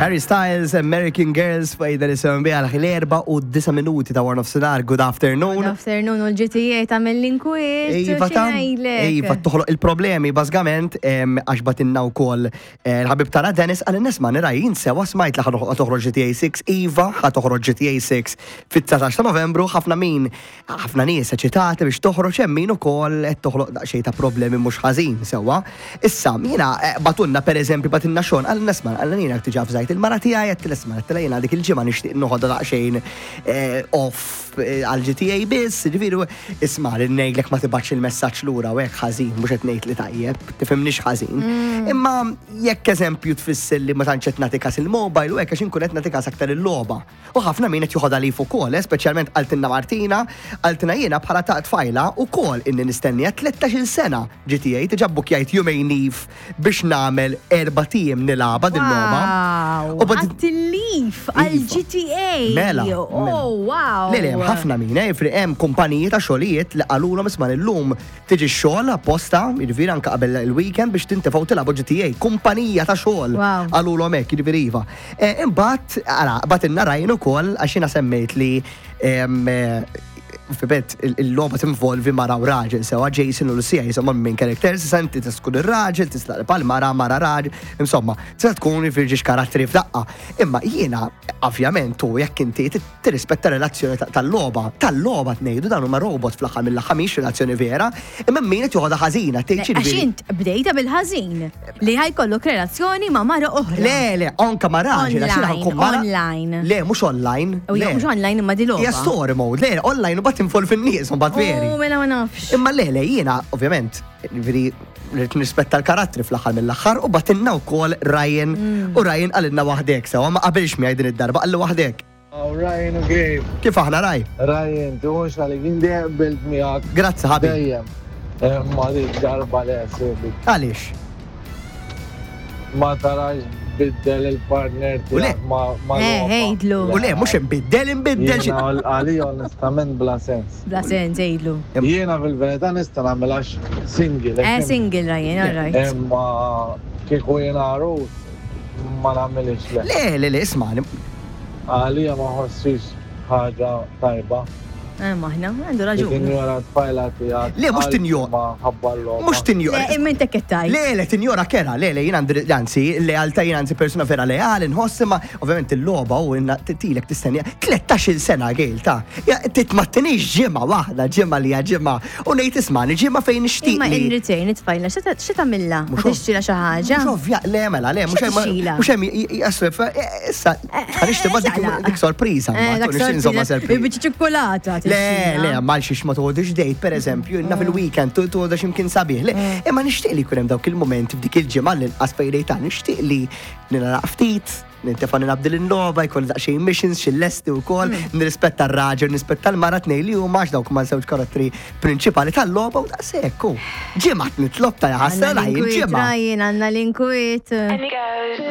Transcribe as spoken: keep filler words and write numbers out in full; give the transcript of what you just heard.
Harry Styles, American Girls, fajda li semmen biha l-erba u disa minuti ta' wara nofsinhar. Good afternoon. Good afternoon, u l-G T A ta' mill-inkwiet. Iva ta' Iva, toħloq il-problemi, bażikament, għax bagħtilna wkoll eh, l-ħabib tara Dennis għal nisma' nirajin sewa smajt li ħa toħroġ G T A sitta. Iva, ħa toħroġ G T A sitta fit-dsatax ta' Novembru, ħafna min, ħafna nies eċitati biex toħroġ, hemm min ukoll qed toħloq daqsxejn ta' problemi mhux ħażin sewwa. Issa, jiena eh, bagħtulna, pereżempju bagħtilna Sean għal nisma' għal jiena diġà avżajt il-mara tiegħi, qed tisma' qed jiena dik il-ġimgħa nixtieq noħodha daqsxejn eh, off eh, għal G T A biss, ġifieri isma' li ngħidlek ma tibgħatx il-messaġġ lura u hekk ħażin, mhux qed ngħid li tajjeb, tifhimnix ħażin. Imma jekk eżempju tfisser li ma tantx qed nagħti kas il-mobile u hekk, għax inkun qed nagħti kas aktar il-logħba. U ħafna min qed joħodha leave ukoll, eh, speċjalment qaltilna Martina, qaltilna jiena bħala ta' tfajla ukoll inni nistennija tlettax-il sena G T A, diġà bbukjajt jumejn leave biex nagħmel erbat ijiem nilgħabha din logħba. Wow. U bad- Ħadt il-leave għal Iva. G T A. Mela. Oh, wow. Le, le, hemm ħafna min, eh, fri hemm kumpaniji ta' xogħlijiet li qalulhom isma' illum tiġi x-xogħol apposta, jiġifieri anke qabel il-weekend biex tintifgħu tilagħbu G T A. Kumpanija ta' xogħol Wow. qalulhom hekk, jiġifieri iva. Eh, Imbagħad, ara, bagħtilna Ryan ukoll għax jiena semmejt li em, eh, Fibet, il-logħba tinvolvi mara u raġel, sewa Jason u Lucia, insomma, main characters, issa inti tista' tkun ir-raġel, tista' pal mara, mara raġel, insomma, tista' tkun firġiex karattri f'daqqa. Imma jiena, ovvjament, tu jekk inti tirrispetta relazzjoni ta- tal-logħba, tal-logħba tnejdu dan huma robot fl-aħħar mill-aħħar, mhix relazzjoni vera, imma min qed joħodha ħażina, tgħid Għax ġifieri- int bdejta bil-ħażin li ħa jkollok relazzjoni ma' mara oħra. Le, le, anka ma' raġel, għax jiena Online, ħankun mara. online. Le, mhux online. U Le. mhux online imma di logħba. Hija story mode, le, online u mbagħad tinvolvi n-nies, u mbagħad veri. U mela ma nafx. Imma le, le, jiena, ovvjament, veri, rrid nirrispetta l-karattri fl-aħħar mill-aħħar u bagħtilna wkoll Ryan u Ryan qalilna waħdek, sewa ma qabilx miegħi din id-darba, qalli waħdek. Oh, Ryan u Gabe. Kif aħna, Raj? Ryan, tuħux għalik, indi qbilt miegħek. Grazzi, ħabib. Dejjem. Ma dik darba le, sibi. Għaliex? Ma tarax biddel il-partner U le. tiegħek ma ma Eh, logħba. għidlu. U le, mhux imbiddel, imbiddel xi. Jiena għalija onestament bla sens. Bla sens, għidlu. Jiena fil-verità nista' nagħmel għax single. Eh, single Ryan, all right. Imma kieku jiena għarus ma nagħmilix, le. Le, le, le, isma' Għalija ma ħossix ħaġa tajba. Eh, maħna, għandu Li raġun. tinjora tfajla tiegħek. Le, mhux tinjora. Ma ħabba l-logħba. Mhux tinjora. Le, imma inti kettaj. Le, le, tinjora kera, le, le, jien għandi, anzi, lealtà, jien anzi persona vera leali, nħoss, imma ovvjament il-logħba u inna tilek tistennija tlettax-il sena għil ta' ja, titmattinix ġimgħa waħda, ġimgħa li hija ġimgħa, u ngħid ismani ġimgħa fejn nixtieq Imma li. in return, it-tfajla, x'ta tagħmilha? Mhux Tixtrila xi ħaġa? Mhux ovvja, le, mela, le, mhux hemm, X'tixtrila? mhux hemm, jassu, issa, għaliex tibgħat dik ċaqlaq. dik sorpriża, Eh, mbagħad, dak u nixtieq insomma sorpriża. sorpriża. Biċċa ċokolata. Le, le, mal xiex ma toħodix date, per eżempju, inna fil-weekend, tu toħodha x'imkien sabiħ. Le, imma nixtieq li jkun hemm dawk il-moment f'dik il-ġimgħa li l-qas fejn nixtieq li nilgħab ftit, nintefa' nilgħab din il-logħba, jkun daqsxejn missions, xi lesti wkoll, nirrispetta r-raġel, nirrispetta l-mara, tnejn li huma, għax dawk ma żewġ karattri prinċipali tal-logħba u daqshekk. Ġimgħa nitlob ta' jaħasra Għanna jien l-inkwiet, ġimgħa. Ryan, għanna l-inkwiet. And it goes.